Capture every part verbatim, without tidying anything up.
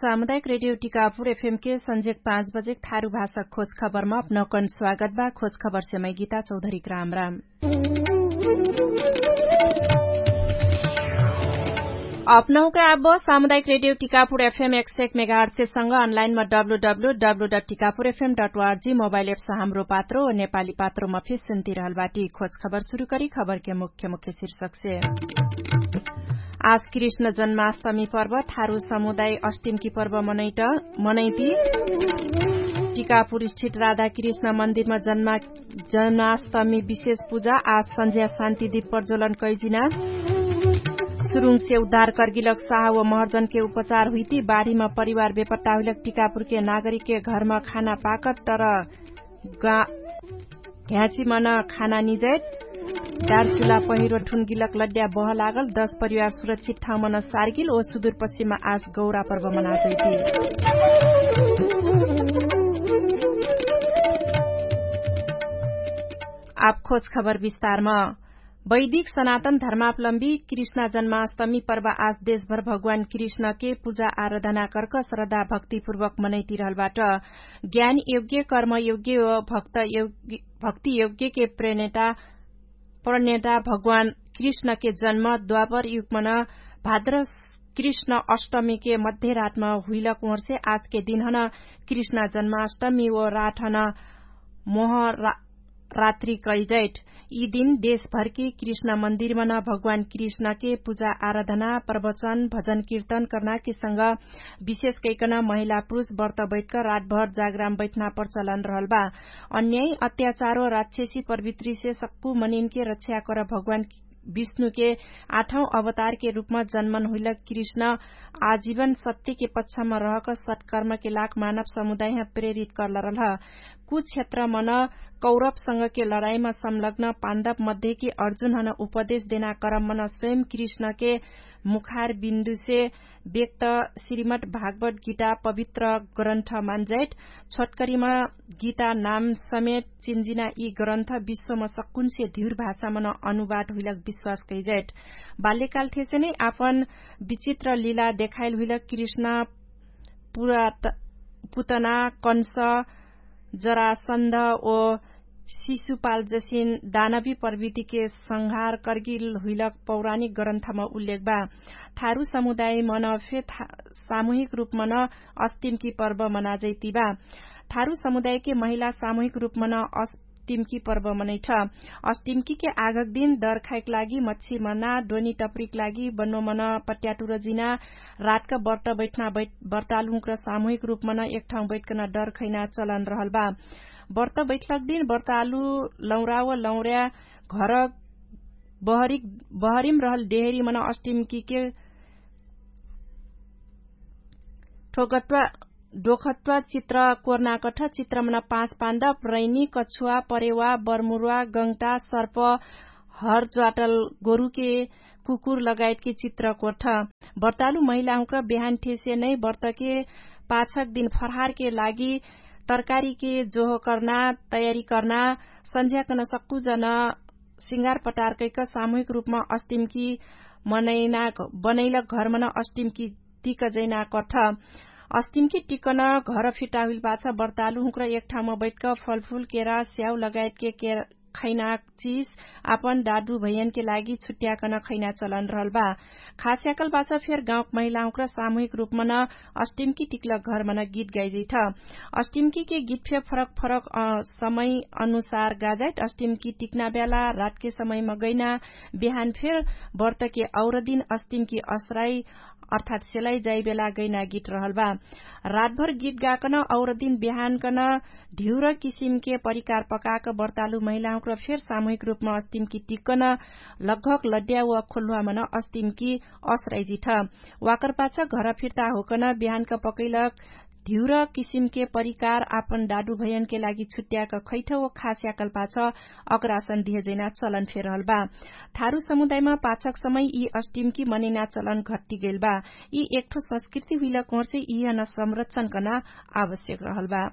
सामुदायिक रेडियो टिकापुर एफएम के संझेक पाँच बजेक थारु भाषा खोज खबरमा अपनौकन स्वागत बा। खोज खबरसे मै गीता चौधरीक राम राम। अपनौके आब सामुदायिक रेडियो टिकापुर एफएम एक सय एक मेगाहर्टसे संग अनलाइनमा W W W dot Tikapur FM dot ORG mobile apps Hamro Patro नेपाली पात्रोमा फिर सुन्तिरहल बाटी। खोज खबर सुरु करी खबरके मुख्य मुख्य शीर्षकसे। आज कृष्ण जन्माष्टमी पर्व थारु समुदाय अष्टिमकी पर्व मनैती। टिकापुर स्थित राधा कृष्ण मन्दिरमा जन्माष्टमी विशेष पुजा आज सन्झ्या शान्ति दिप प्रज्वलन कैजिना। सुरुङसे उद्धार कर्गिलक साह व महर्जनके उपचार हुइती बाढीमा परिवार बेपट्टा हुइलक टिकापुरके नागरिकके घरमा खाना पाकत तर गा ढ्याँची मन खाना निजैत। डारचुला पहिरो ठुनगिलक लड्या बह लागल दश परिवार सुरक्षित ठाउँ मन सार्गिल ओ सुदुरपश्चिममा आज गौरा पर्व मनाजैती। आब खोज खबर विस्तारम। वैदिक सनातन धर्मावलम्बी कृष्णा जन्माष्टमी पर्व आज देशभर भगवान कृष्णके पुजा आराधना कर्क श्रद्धा भक्तिपूर्वक मनैतिरहलबाट। ज्ञान योग्य कर्म योग्य व भक्ति योग्यके प्रेरणा प्रणेता भगवान कृष्णके जन्म द्वापर युगमन भाद्र कृष्ण अष्टमीके मध्यरातम हुइलक ओर्से आजके दिनहन कृष्णा जन्माष्टमी व राठन मोह रात्रि कैजैट। यि दिन देशभरकी कृष्ण मन्दिरमन भगवान कृष्णके पुजा आराधना प्रवचन भजन किर्तन कर्नाके संग विशेष कैकन महिला पुरुष बर्त बैठक रातभर जागराम बैठना प्रचलन रहल बा। अन्याय अत्याचारो राक्षसी प्रवृत्तिसे सक्कु मनिनके रक्षा कर भगवान विष्णुके आठौं अवतारके रूपमा जन्मन हुइलक कृष्ण आजीवन सत्यके पक्षमा रहक सत्कर्मके लाग मानव समुदायह प्रेरित कर्लरलह। कुछ क्षेत्रमन कौरवसँगके लडाइमा संलग्न पाण्डव मध्येके अर्जुनहन उपदेश देना क्रममन स्वयं कृष्णके मुखार बिन्दुसे व्यक्त श्रीमद् भागवत गीता पवित्र ग्रन्थ मान्जाइट। छोटकरीमा गीता नाम समेत चिन्जिना यि ग्रन्थ विश्वमा सक्कुनसे धिउर भाषामन अनुवाद हुइलक विश्वास कैजाइट। बाल्यकाल थेसे नै आपन विचित्र लीला देखाइल हुइलक कृष्ण पुतना कंस जरासन्ध ओ शिशुपाल जसिन दानवी प्रवृतिके संहार कर्गिल हुइलक पौराणिक ग्रन्थमा उल्लेख बा। थारु समुदायमन फे सामूहिक रूपमन अस्तिमकी पर्व मनाजैतिबा। थारु समुदायके महिला सामूहिक रूपमन अस्तिमकी पर्व मनैठ। अस्तिमकीके आघक दिन दर खाइक लागि मच्छी मना डोनी टपरीक लागि बन्नोमन पट्याटुर जिना रातक बर्त बैठना बर्तालुहुँक्र सामूहिक रूपमन एकठाउँ बैठकन डर खैना चलन रहल बा। बर्त बैठलक दिन बर्तालु लौरा व लौरा घर बहरिम रहल डेहरीमन अस्टिमकीके ठोगट्वा डोखट्वा चित्र कोर्नाकठ चित्रमन पाँच पाण्डव रैनी कछुवा परेवा बर्मुर्वा गङ्ता सर्प हर ज्वाटल गोरुके कुकुर लगायतके चित्र कोर्ठ। बर्तालु महिलाहुँक्र बिहान ठेसे नै बर्तके पाछक दिन फरहारके लागि तरकारीके जोहो कर्ना तयारी कर्ना सन्झ्याकन सक्कु जन सिङ्गार पटार कैक सामूहिक रूपमा अस्टिमकी मनैना बनैलक घरमन अस्टिमकी टिक जैना कठ। अस्टिमकी टिकन घर फिर्ता हुइल पाछ बर्तालु हुँक्र एक ठाउँमा बैठक फलफुल केरा स्याउ लगायतके खैना चिज आपन दादु भैयनके लागि छुट्याकन खैना चलन रहल बा। खास्याकल पाछ फेर गाउँक महिलाहुँक्र सामूहिक रूपमन अस्टिमकी टिकलक घरमन गीत गाइजैठ। अस्टिमकीके गीत फेर फरक फरक समय अनुसार गाजाइट अस्टिमकी टिकना ब्याला रातके समयमा गैना बिहान फेर बर्तके और दिन अस्टिमकी असराई अर्थात् सेलाइ जाइबेला गैना गीत रहल बा। रातभर गीत गाकन और दिन बिहानकन ढिउर किसिमके परिकार पकाक बर्तालु महिलाहुँक्र फेर सामूहिक रूपमा अस्टिमकी टिकन लगघक लड्या व खोल्हुवामन अस्टिमकी असराइजिठ। वाकर पाछ घर फिर्ता होकन बिहानक पकैलक धिउर किसिमके परिकार आपन दादु भैयनके लागि छुट्याक खैठ व खास्याकल पाछ अग्रासन दिहजैना चलन फेरहल बा। थारु समुदायमा पाछक समय यि अस्टिमकी मनैना चलन घट्टिगैल बा। यि एकठो संस्कृति हुइल कोर्से यिहन संरक्षण कर्ना आवश्यक रहल बा।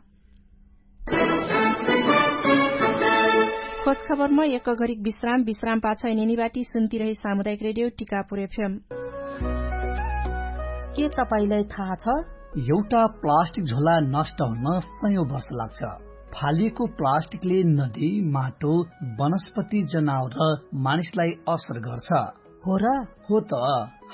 खोज खबरमा एक घरिक विश्राम विश्राम पाछ एनेनी बाटी सुन्तिरही सामुदायिक रेडियो टिकापुर एफएम। के तपाईंलाई थाहा छ? एउटा प्लास्टिक झोला नष्ट हुन सयौं वर्ष लाग्छ। फालिएको प्लास्टिकले नदी, माटो, वनस्पति, जनावर र मानिसलाई असर गर्छ। हो र? हो त।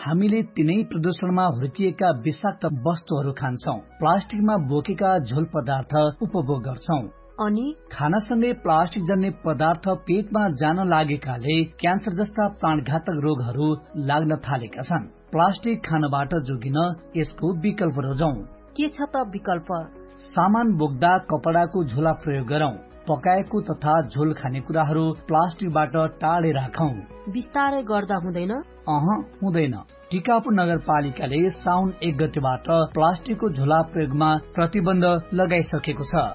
हामीले तिनै प्रदूषणमा हुर्किएका विषाक्त वस्तुहरू खान्छौं, प्लास्टिकमा बोकेका झोल पदार्थ उपभोग गर्छौं। अनि खानासँगै प्लास्टिक जन्ने पदार्थ पेटमा जान लागेकाले क्यान्सर जस्ता प्राणघातक रोगहरू लाग्न थालेका छन्। प्लास्टिक खानबाट जोगिन यसको विकल्प रोजौं। के छ त विकल्प? सामान बोक्दा कपडाको झोला प्रयोग गरौं। पकाएको तथा झोल खाने कुराहरू प्लास्टिकबाट टाढे राखौं। बिस्तारै गर्दा हुँदैन? अह, हुँदैन। टिकापुर नगरपालिकाले साउन एक गतिबाट प्लास्टिकको झोला प्रयोगमा प्रतिबन्ध लगाइसकेको छ।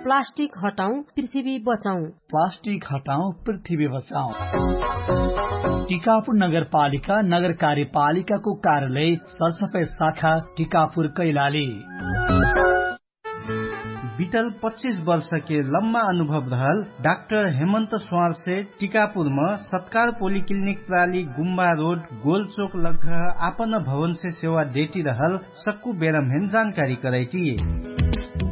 प्लास्टिक हटाउँ, पृथ्वी बचाउँ। प्लास्टिक हटाउँ, पृथ्वी बचाउँ। टिकापुर नगरपालिका नगर कार्यपालिकाको कार्यालय सरसफाई शाखा टिकापुर कैलाली। बितल पच्चिस वर्षके लम्मा अनुभव रहल डाक्टर हेमन्त स्वारसे टिकापुरम सत्कार पोलिक्लिनिक प्राली गुम्बा रोड गोलचोक लग्घ आपन भवनसे सेवा देटी रहल सक्कु बेरम्हेन जानकारी करैटी।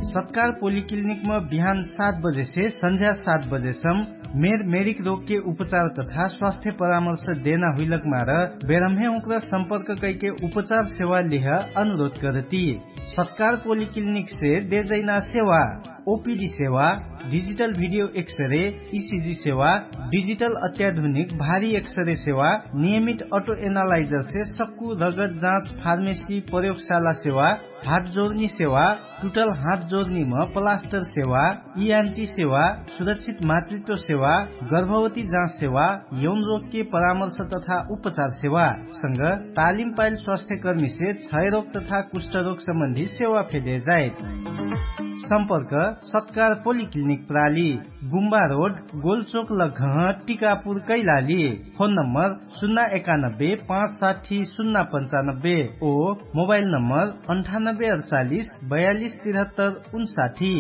सत्कार पोलिक्लिनिकम बिहान सात बजेसे सन्झ्या सात बजेसम मेर मेरिक रोगके उपचार तथा स्वास्थ्य परामर्श देना हुइलक मार बेरम्हे उक्र सम्पर्क कैके उपचार सेवा लिह अनुरोध करती। सत्कार पोलिक्लिनिकसे देजैना सेवा ओपिडी सेवा, डिजिटल भिडियो एक्सरे, इसिजी सेवा, डिजिटल अत्याधुनिक भारी एक्सरे सेवा, नियमित अटो एनालाइजरसे सक्कु रगत जाँच फार्मेसी प्रयोगशाला सेवा, हात जोर्नी सेवा, टुटल हात जोर्नीम प्लास्टर सेवा, इआन्टी सेवा, सुरक्षित मातृत्व सेवा, गर्भवती जाँच सेवा, यौन रोगके परामर्श तथा उपचार सेवा संग तालिम पाइल स्वास्थ्यकर्मीसे क्षयरोग तथा कुष्ठरोग सम्बन्धी सेवा फेदे जाइत। सम्पर्क सत्कार पोलिक्लिनिक प्राली, गुम्बा रोड, गोलचोक लग्घह, टिकापुर कैलाली। फोन नम्बर सुन्ना एकानब्बे पाँच साठी सुन्ना पन्चानब्बे ओ मोबाइल नम्बर अन्ठानब्बे अडचालिस बयालिस तिरहत्तर उन्साठी।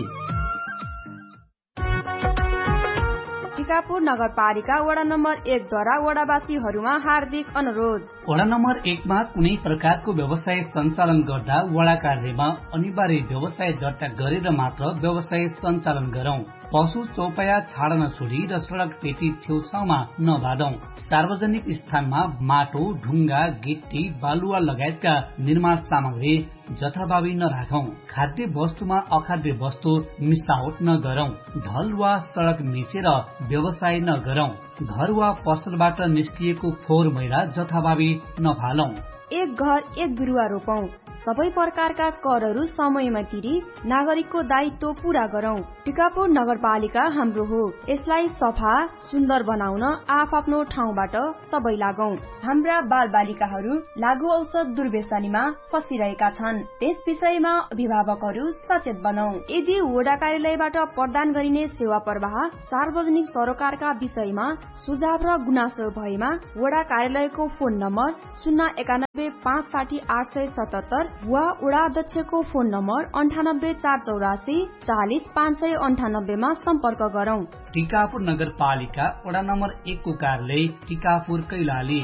टिकापुर नगरपालिका वडा नम्बर एक द्वारा वडावासीहरूमा हार्दिक अनुरोध। वडा नम्बर एक मा कुनै प्रकारको व्यवसाय सञ्चालन गर्दा वडा कार्यालयमा अनिवार्य व्यवसाय दर्ता गरेर मात्र व्यवसाय सञ्चालन गरौँ। पशु चौपाया छाडन छोडी र सडक पेटी छेउछाउमा नबादौँ। सार्वजनिक स्थानमा माटो, ढुङ्गा, गिट्टी, बालुवा लगायतका निर्माण सामग्री जथाभावी नराखौँ। खाद्य वस्तुमा अखाद्य वस्तु मिसावट नगरौँ। ढल वा सडक मिचेर व्यवसाय नगरौँ। घर वा पसलबाट निस्किएको फोहोर मैला जथाभावी नफालौँ। एक घर एक बिरुवा रोपौँ। सबै प्रकारका करहरू समयमा तिरी नागरिकको दायित्व पूरा गरौँ। टिकापुर नगरपालिका हाम्रो हो। यसलाई सफा सुन्दर बनाउन आफआफ्नो ठाउँबाट सबै लागौँ। हाम्रा बालबालिकाहरू लागु औषध दुर्व्यसनीमा फसिरहेका छन्। त्यस विषयमा अभिभावकहरू सचेत बनाऊ। यदि वडा कार्यालयबाट प्रदान गरिने सेवा प्रवाह सार्वजनिक सरोकारका विषयमा सुझाव र गुनासो भएमा वडा कार्यालयको फोन नम्बर सुन्ना एकानब्बे पाँच साठी आठ सय सतहत्तर वा वडा अध्यक्षको फोन नम्बर अन्ठानब्बे चार चौरासी चालिस पाँच सय अन्ठानब्बेमा सम्पर्क गरौँ। टिकापुर नगरपालिका वडा नम्बर एकको कार्यालय टिकापुर कैलाली।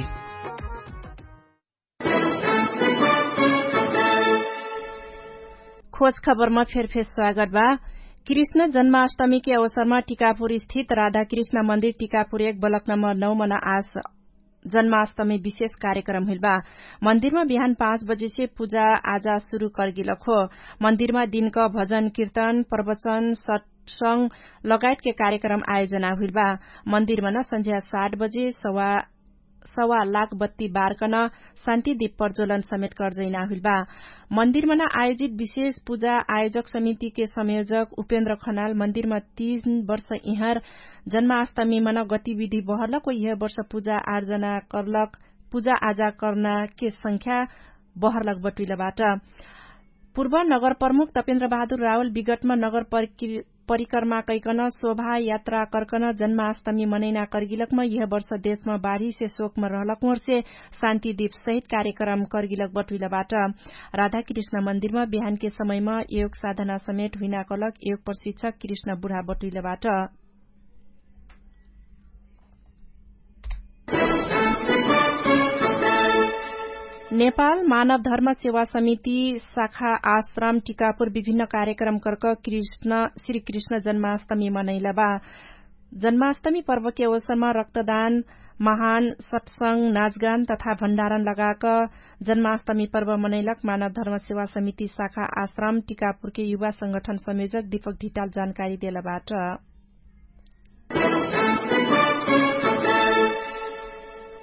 खोज खबरमा फेरफेर स्वागत बा। कृष्ण जन्माष्टमीके अवसरमा टिकापुर स्थित राधाकृष्ण मन्दिर टिकापुर एक बलक नम्बर नौ मना आस जन्माष्टमी विशेष कार्यक्रम हुइल बा। मन्दिरमा बिहान पाँच बजेसे पूजा आजा सुरु कर्गिलक हो। मन्दिरमा दिनक भजन कीर्तन प्रवचन सत्संग लगायतके कार्यक्रम आयोजना हुइल बा। मन्दिरमा न सन्झ्या सात बजे सवा सवा लाख बत्ती बारकन शान्ति दीप प्रज्वलन समेत कर्जैना हुइल बा। मन्दिरमा न आयोजित विशेष पूजा आयोजक समितिके संयोजक उपेन्द्र खनाल मन्दिरमा तीन वर्ष इहर जन्माष्टमी मन गतिविधि बहरलक यह वर्ष पूजा आर्जना कर्लक पूजा आजा कर्ना के संख्या बहरलक बटुइलबाट। पूर्व नगर प्रमुख तपेन्द्र बहादुर रावल विगतमा नगर परिक्र परिक्रमा कैकन शोभा यात्रा कर्कन जन्माष्टमी मनैना कर्गिलकमा यह वर्ष देशमा बाढीसे शोकमा रहलक मोर्से शान्ति दीप सहित कार्यक्रम कर्गिलक बटुइलबाट। राधाकृष्ण मन्दिरमा बिहानके समयमा योग साधना समेट हुइना कलक योग प्रशिक्षक कृष्ण बुढा बटुइलबाट। नेपाल मानव धर्म सेवा समिति शाखा आश्रम टिकापुर विभिन्न कार्यक्रम कर्क कृष्ण श्री कृष्ण जन्माष्टमी मनैलबा। जन्माष्टमी पर्वके अवसरमा रक्तदान महान सत्संग नाचगान तथा भण्डारण लगाक जन्माष्टमी पर्व मनैलक मानव धर्म सेवा समिति शाखा आश्रम टिकापुरके युवा संगठन संयोजक दीपक ढिटाल जानकारी देलबाट।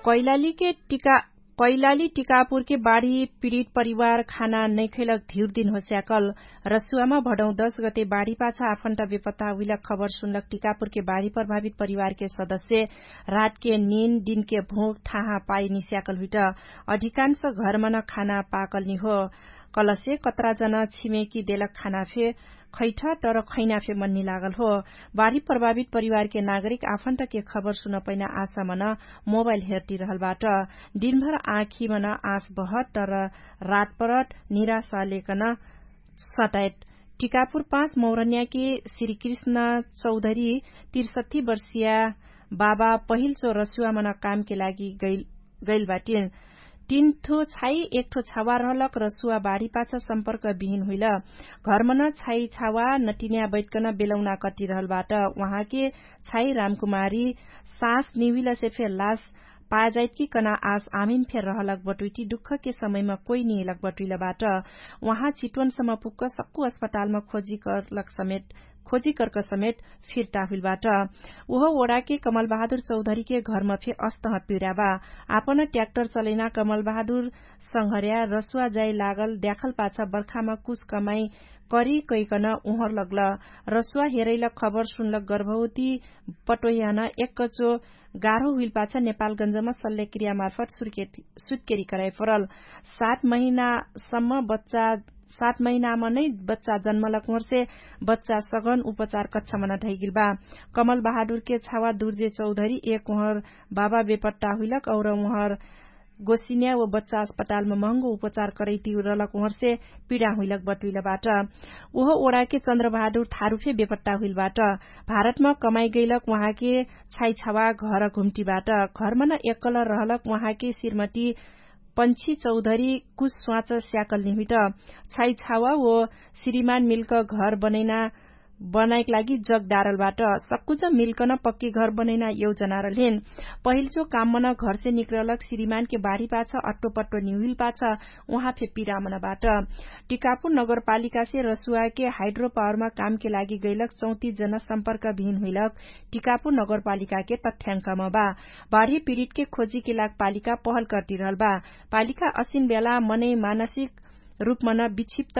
कैलालीके टिका कैलाली टिकापुरके बाढी पीडित परिवार खाना नैखैलक धिउर दिन होस्याकल। रसुवामा भडौँ दश गते बाढी पाछा आफन्ट बेपत्ता हुइलक खबर सुनलक टिकापुरके बाढी प्रभावित परिवारके सदस्य रातके निन दिनके भोक थाहा पाइ निस्याकल हुइट। अधिकांश घरमन खाना पाकल निहो। कलसे कतरा जन छिमेकी देलक खाना फे खैठ तर खैना फे मन्नी लागल हो। बाढी प्रभावित परिवारके नागरिक आफन्तके खबर सुनपैना आशामन मोबाइल हेर्टी रहलबाट। दिनभर आँखीमन आश बहत तर रातपरत निराशा लेकन सटायत। टिकापुर पाँच मौरन्याके श्री कृष्ण चौधरी तिरसठी वर्षिया बाबा पहिल चो रसुवामन कामके लागि गैल बाटिन। तीन ठो छाई एक ठो छावा रहलक रसुवा बाढी पाछ सम्पर्क बिहिन हुइल। घरमन छाई छावा नटिन्या बैठकन बेलौना कटिरहलबाट। उहाँके छाई रामकुमारी सास निहुइलसे फेर लास पाजाइतकी कना आस आमिन फेर रहलक बटुइटी दुःखके समयमा कोइ निहिलक बटुइलबाट। उहाँ चिटवनसम्म पुग्क सक्कु अस्पतालमा खोजी करलक समेत खोजी कर्क समेत फिर्ता हुइलबाट। उहो ओडाके कमलबहादुर चौधरीके घरमा फे अस्तह पिराबा। आपन ट्याक्टर चलैना कमलबहादुर संघर्या रसुवा जाइ लागल द्याखल पाछ बर्खामा कुछ कमाइ करी कैकन उहर लगल। रसुवा हेरैल खबर सुनलक गर्भवती पटोहियान एक्कचो गाह्रो हुइल पाछ नेपालगन्जमा सल्लेक्रियामार्फत सुत्केरी कराइ परल। सात महिनासम्म बच्चा सात महिनामा नै बच्चा जन्मलक उहर्से बच्चा सगन उपचार कच्छामन ढैगिल बा। कमलबहादुरके छावा दुर्जे चौधरी एक उहर बाबा बेपट्टा हुइलक और उहर गोसिन्या व बच्चा अस्पतालमा महँगो उपचार करैतिरलक उहर्से पिडा हुइलक बटुइलबाट। उहो ओडाके चन्द्रबहादुर थारुफे बेपट्टा हुइलबाट। भारतमा कमाइ गैलक उहाँके छाइछावा घर घुम्टीबाट। घरमन एक्कल रहलक उहाँके श्रीमती पन्छी चौधरी कुछ स्वाच स्याकल निहुइट। छाइछावा व श्रीमान मिल्क घर बनैना बनाइक लागि जग डारलबाट। सक्कुज मिल्कन पक्की घर बनैना यौजनारलेन। पहिल्चो काममन घरसे निक्रलक श्रीमानके बाढी पाछ अट्टो पट्टो निहुइल पाछ उहाँ फे पिरामनबाट। टिकापुर नगरपालिकासे रसुवाके हाइड्रोपावरमा कामके लागि गैलक चौतिस जन सम्पर्क भिन हुइलक टिकापुर नगरपालिकाके तथ्याङ्कम बा। बाढी पिडितके खोजीके लाग पालिका पहल कर्तिरहल बा। पालिका असिन बेला मनै मानसिक रूपमन विक्षिप्त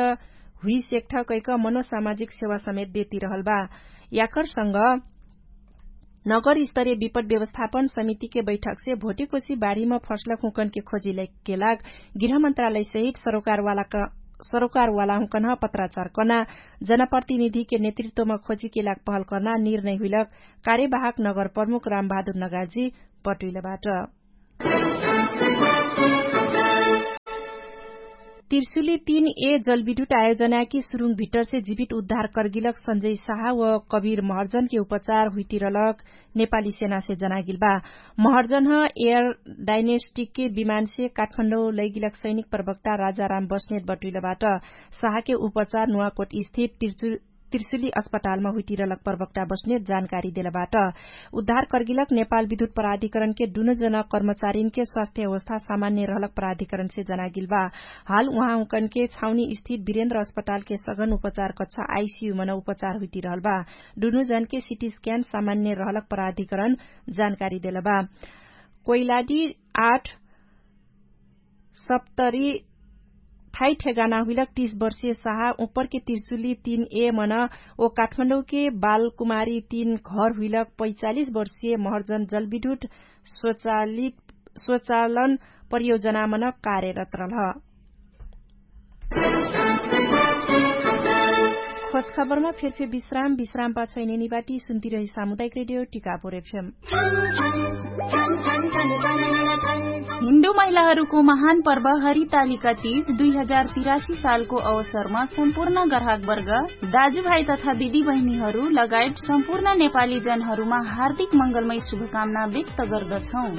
हुइसेक्ठ कैक मनोसामाजिक सेवा समेत देतिरहल बा। याकरसँग नगर स्तरीय विपद व्यवस्थापन समितिके बैठकसे भोटिकोसी बाढीम फर्सलक हुँकनके खोजीलैके लाग गृहमन्त्रालयसहित सरोकारवालाहुँकनह पत्राचार कना जनप्रतिनिधिके नेतृत्वम खोजीके लाग पहल कर्ना निर्णय हुइलक कार्यवाहक नगर प्रमुख रामबहादुर नगाजी पटुइलबाट। तिर्सुली तीन ए जलविद्युत आयोजनाकी सुरुङ भिट्टरसे जिवित उद्धार कर्गिलक सन्जय साहा व कबिर महर्जनके उपचार हुइतिरलक नेपाली सेनासे जनागिल बा। महर्जनह एयर डाइनेस्टिकके विमानसे काठमाण्डौ लैगिलक सैनिक प्रवक्ता राजाराम बस्नेत बटुइलबाट। साहाके उपचार नुवाकोट स्थित तिर्सुली अस्पतालमा हुइटिरलक प्रवक्ता बस्नेत जानकारी देलबाट। उद्धार कर्गिलक नेपाल विद्युत प्राधिकरणके दुनोजन कर्मचारीनके स्वास्थ्य अवस्था सामान्य रहलक प्राधिकरणसे जनागिल बा। हाल उहाँहुँकनके छाउनी स्थित विरेन्द्र अस्पतालके सघन उपचार कक्षा आइसियु मन उपचार हुइटिरहल बा। दुनोजनके सिटी स्क्यान सामान्य रहलक प्राधिकरण जानकारी देलबा। कोइलाडी आठ सप्तरी थाइ ठेगाना हुइलक तीस वर्षीय साहा उपरके तिर्सुली तीन ए मन ओ काठमाडौँके बालकुमारी तीन घर हुइलक पैचालिस वर्षीय महर्जन जलविद्युत स्वचालन परियोजनामन कार्यरत रहल। खोजखबरमा फेरफे विश्राम विश्रामपा छैने निवाटी सुन्तिरही सामुदायिक रेडियो टिकापुर एफएम। हिन्दू महिलाहरूको महान पर्व हरितालिका तीज दुई हजार तिरासी सालको अवसरमा सम्पूर्ण ग्राहकवर्ग, दाजुभाइ तथा दिदीबहिनीहरू लगायत सम्पूर्ण नेपाली जनहरूमा हार्दिक मङ्गलमय शुभकामना व्यक्त गर्दछौँ।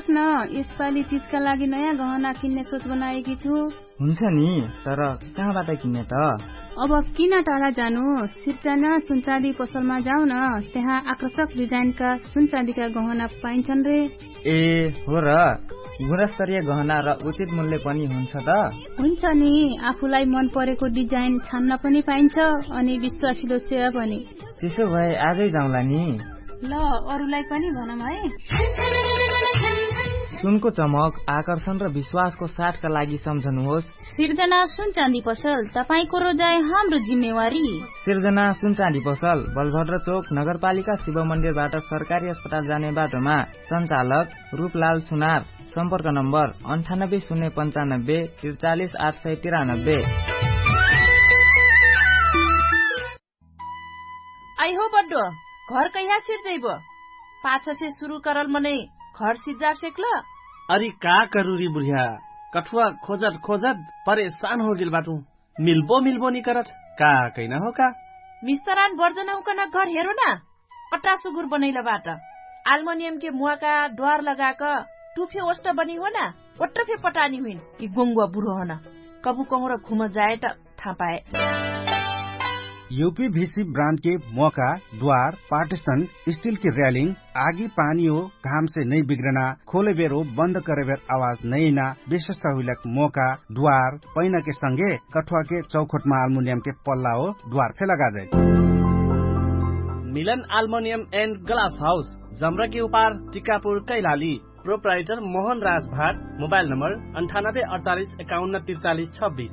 न, यसपालि तिजका लागि नयाँ गहना किन्ने सोच बनाएकी छु। हुन्छ नि, तर कहाँबाट किन्ने त? अब किन टाढा जानु? सिर्जना सुनचाँदी पसलमा जाऊ न। त्यहाँ आकर्षक डिजाइनका सुनचाँदीका गहना पाइन्छन् रे। ए, हो र? गुणस्तरीय गहना र उचित मूल्य पनि हुन्छ त? हुन्छ नि, आफूलाई मन परेको डिजाइन छान्न पनि पाइन्छ, अनि विश्वासिलो सेवा पनि। त्यसो भए आजै जाउँला नि। ल, अरूलाई पनि भनौँ है। सुनको चमक, आकर्षण र विश्वासको साथका लागि सम्झनुहोस्। सिर्जना सुनचाँदी पसल, तपाईंको रोजाइ हाम्रो जिम्मेवारी। सिर्जना सुनचाँदी पसल, बलभद्र चोक, नगरपालिका शिव मन्दिरबाट सरकारी अस्पताल जाने बाटोमा। सञ्चालक रूपलाल सुनार। सम्पर्क नम्बर अन्ठानब्बे शून्य पन्चानब्बे त्रिचालिस आठ सय तिरानब्बे। आइहो बड्डो, घर कैहा सिर्जैबो? पाछसे सुरु करल मनै घर सिर्जार सेक्ल? अरि का करुरी बुढिया, कठुवा खोजत खोजत परेशान होगेल बाटु। मिल्बो मिल्बो निकरत, का कैना हो का? मिस्तरान बर्जन हुकन घर हेरो ना। पट्टा सुगुर बनैल बाट। आल्मोनियम के मुवाका द्वार लगाक टुफे ओष्ट बनी हो ना। ओट्ट फे पटानी हुइन कि गोंगुवा बुढो हन। कबु कहुँर घुम जाए त थाहा पाए। युपी भिसी ब्रान्ड के मोका, द्वार, पार्टिसन, स्टिल के र्यालिङ, आगी पानी हो घाम से नै बिग्रना, खोले बेर हो बन्द करे बेर आवाज नै ना। विशेषता हुइलक मोका, द्वार, पैना के संगे कठुवा के चौखोट मा आल्मुनियम के पल्ला हो द्वार फे लगा जाए। मिलन आल्मोनियम एन्ड ग्लास हाउस, जमरा के उपार, टिकापुर, कैलाली। प्रोप्राइटर मोहन राज भाट। मोबाइल नम्बर अन्ठानब्बे अडचालिस एकाउन्न त्रिचालिस छब्बिस।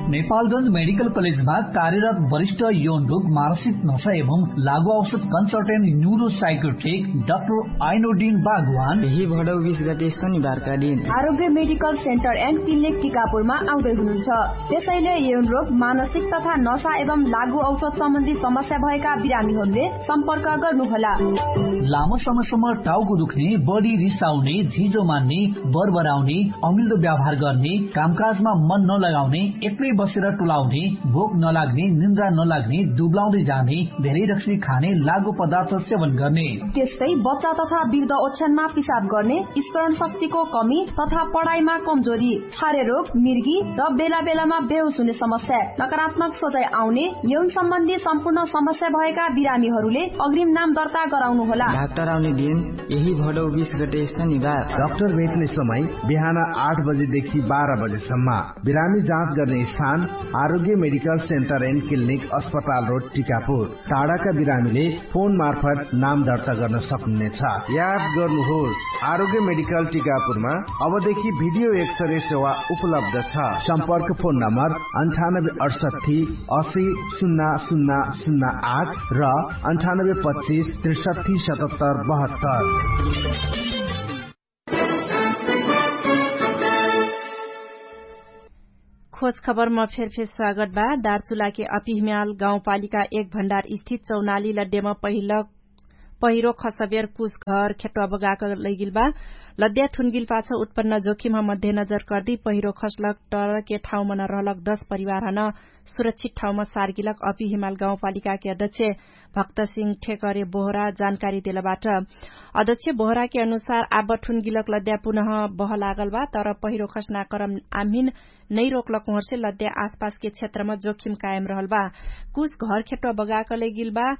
नेपालगंज मेडिकल कलेजमा कार्यरत वरिष्ठ यौन रोग, मानसिक नशा एवं लागू औषध कन्सल्टेन्ट न्युरो साइकोट्रिक डाक्टर आइनोडिन बागवान यही भडौ बिस गते शनिबारका दिन आरोग्य मेडिकल सेन्टर एन्ड क्लिनिक टिकापुरमा आउँदै हुनुहुन्छ। त्यसैले यौन रोग, मानसिक तथा नशा एवं लागू औषध सम्बन्धी समस्या भएका बिरामीहरूले सम्पर्क गर्नुहोला। लामो समयसम्म टाउको दुख्ने, बढी रिसाउने, झिजो मान्ने, बरबराउने, अमिल्दो व्यवहार गर्ने, कामकाजमा मन नलगाउने, एक्लै बसेर टुलाउने, भोक नलाग्ने, निन्द्रा नलाग्ने, दुब्लाउँदै जाने, धेरै रक्सी खाने, लागु पदार्थ सेवन गर्ने। त्यस्तै बच्चा तथा वृद्ध ओछ्यानमा पिसाब गर्ने, स्मरण शक्तिको कमी तथा पढाइमा कमजोरी, छारे रोग, मिर्गी र बेला बेलामा बेहोस हुने समस्या, नकारात्मक सोचाइ आउने, यौन सम्बन्धी सम्पूर्ण समस्या भएका बिरामीहरूले अग्रिम नाम दर्ता गराउनुहोला। डाक्टर आउने दिन यही भडौ बिस गते शनिबार। डाक्टर भेट्ने समय बिहान आठ बजेदेखि बाह्र बजेसम्म। बिरामी जाँच गर्ने स्थान आरोग्य मेडिकल सेन्टर एन्ड क्लिनिक, अस्पताल रोड, टिकापुर। टाढाका बिरामीले फोन मार्फत नाम दर्ता गर्न सक्नुहुनेछ। याद गर्नुहोस्, आरोग्य मेडिकल टिकापुरमा अबदेखि भिडियो एक्सरे सेवा उपलब्ध छ। सम्पर्क फोन नम्बर अन्ठानब्बे अडसट्ठी असी शून्य शून्य शून्य आठ र अन्ठानब्बे पच्चिस त्रिसट्ठी सतहत्तर बहत्तर। खोज खबरमा फेरफेर स्वागत बा। दार्चुलाके अपिहम्याल गाउँपालिका एक भण्डार स्थित चौनाली लड्डेमा पहिलो पहिरो खसबेर कुछ घर खेट्वा बगाक लैगिल बा। लद्या थुनगिल पाछ उत्पन्न जोखिमह मध्य नजर कर्दी पहिरो खसलक टरके ठाउँमन रहलक दश परिवारहन सुरक्षित ठाउँमा सारगिलक अपिहम्याल गाउँपालिकाके अध्यक्ष भक्तसिंह ठेकरे बोहरा जानकारी देलबाट। अध्यक्ष बोहराके अनुसार आब थुनगिलक लद्या पुनः बहलागल बा, तर पहिरो खसनाक्रम आम्हिन नैरोकलक उहर्से लद्या आसपासके क्षेत्रमा जोखिम कायम रहल बा। कुछ घर खेट्वा बगाक लैगिल बा।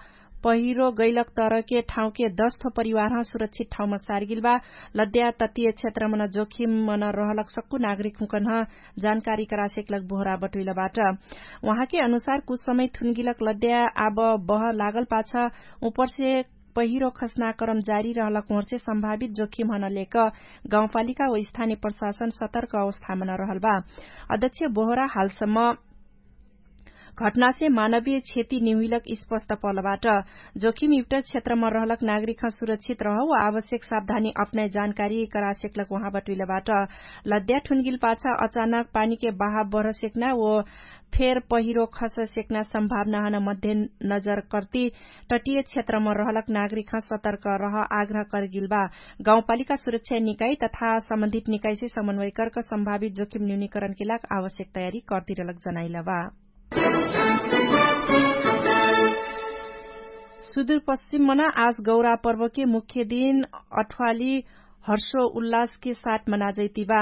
पहिरो गैलक तरके ठाउँके दश थो परिवारह सुरक्षित ठाउँमा सारगिल बा। लद्या तत्तीय क्षेत्रमन जोखिममन रहलक सक्कु नागरिकहुँकन्ह जानकारी करासेकलक बोहरा बटुइलबाट। उहाँके अनुसार कुछ समय थुनगिलक लद्या आब बह लागल पाछ उपरसे पहिरो खसनाक्रम जारी रहलक उहर्से सम्भावित जोखिमहन लेक गाउँपालिका व स्थानीय प्रशासन सतर्क अवस्थामन रहल बा। अध्यक्ष बोहरा हालसम्म घटनासे मानवीय क्षति निहुइलक स्पष्ट पलबाट। जोखिमयुक्त क्षेत्रमा रहलक नागरिकह सुरक्षित रह व आवश्यक सावधानी अपनाइ जानकारी करासेकलक उहाँ बटुइलबाट। लद्या थुनगिल पाछ अचानक पानीके बहाव बढसेक्ना व फेर पहिरो खससेक्ना सम्भावनाहन मध्य नजर कर्ती तटीय क्षेत्रमा रहलक नागरिकह सतर्क रह आग्रह करगिल बा। गाउँपालिका सुरक्षा निकाइ तथा सम्बन्धित निकाइसे समन्वय कर्क सम्भावित जोखिम न्यूनीकरणके लाग आवश्यक तयारी कर्तिरलक जनाइल बा। सुदूरपश्चिम मना आज गौरा पर्वके मुख्य दिन अठ्वाली हर्षो उल्लासके साथ मनाजैतिबा।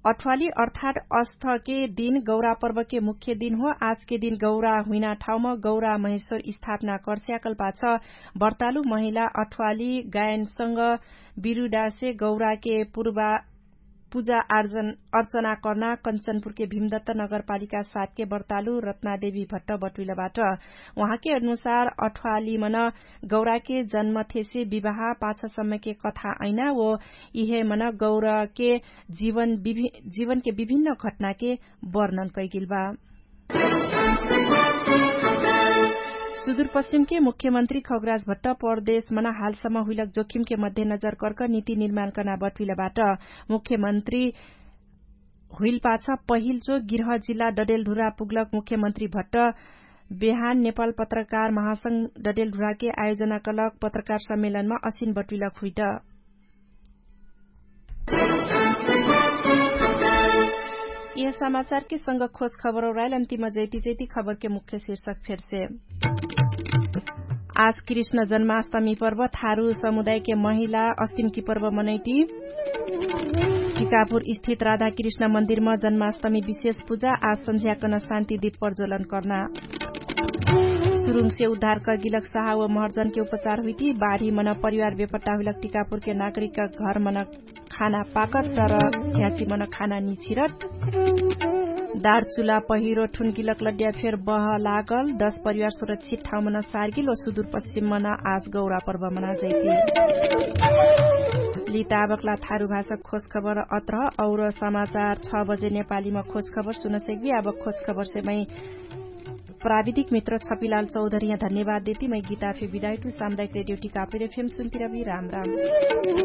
अठ्वाली अर्थात अस्थके दिन गौरा पर्वके मुख्य दिन हो। आजके दिन गौरा हुइना ठाउँमा गौरा महेश्वर स्थापना कर्स्याकल पाछ बर्तालु महिला अठ्वाली गायनसँग बिरुडासे गौराके पूर्वा पूजा अर्चना कर्ना कञ्चनपुरके भिमदत्त नगरपालिका सातके बर्तालु रत्नादेवी भट्ट बटुइलबाट। उहाँके अनुसार अठ्वाली मन गौराके जन्म थेसे विवाह पाछ समयके कथा ऐना ओ इहे मन गौराके जीवनके विभिन्न घटनाके वर्णन कैगिलबा। सुदुरपश्चिमके मुख्यमन्त्री खगराज भट्ट परदेशमन हालसम्म हुइलक जोखिमके मध्यनजर कर्क नीति निर्माण कर्ना बटुइलबाट। मुख्यमन्त्री हुइलपाछ पहिलचो गृह जिल्ला डडेलढुरा पुग्लक मुख्यमन्त्री भट्ट बेहान नेपाल पत्रकार महासंघ डडेलढुराके आयोजना कलक पत्रकार सम्मेलनमा असिन बटुइलक हुइट। यह समाचारके संग खोज खबर औराइल अन्तिम जैती जैती खबरके मुख्य शीर्षक फेरसे। आज कृष्ण जन्माष्टमी पर्व थारु समुदायके महिला अस्तिमकी पर्व मनैटी। टिकापुर स्थित राधा कृष्ण मन्दिरमा जन्माष्टमी विशेष पुजा आज सम्झ्याकन शान्ति दिप प्रज्वलन कर्ना। सुरुङसे उद्धार कगिलक सहा व महर्जनके उपचार हुइटी बाढी मन परिवार बेपट्टा हुइलक टिकापुरके नागरिकका घर मन खाना पाकत तर ह्याची मन खाना निछिरत। दारचुला पहिरो ठुनगिलक लड्या फेर बह लागल दश परिवार सुरक्षित ठाउँ मन सारगिल व सुदुरपश्चिम मन आज गौरा पर्व मनाजैती। लिताबकला थारु भाषा खोज खबर अत्रह और समाचार छ बजे नेपालीमा खोज खबर सुनसक्बी आबक खोज खबरसे मै प्राविधिक मित्र छपिलाल चौधरिया धन्यवाद देती मै गीता फे विदाइटु सामुदायिक रेडियो टिकापुर एफएम सुन्तिरबी राम राम।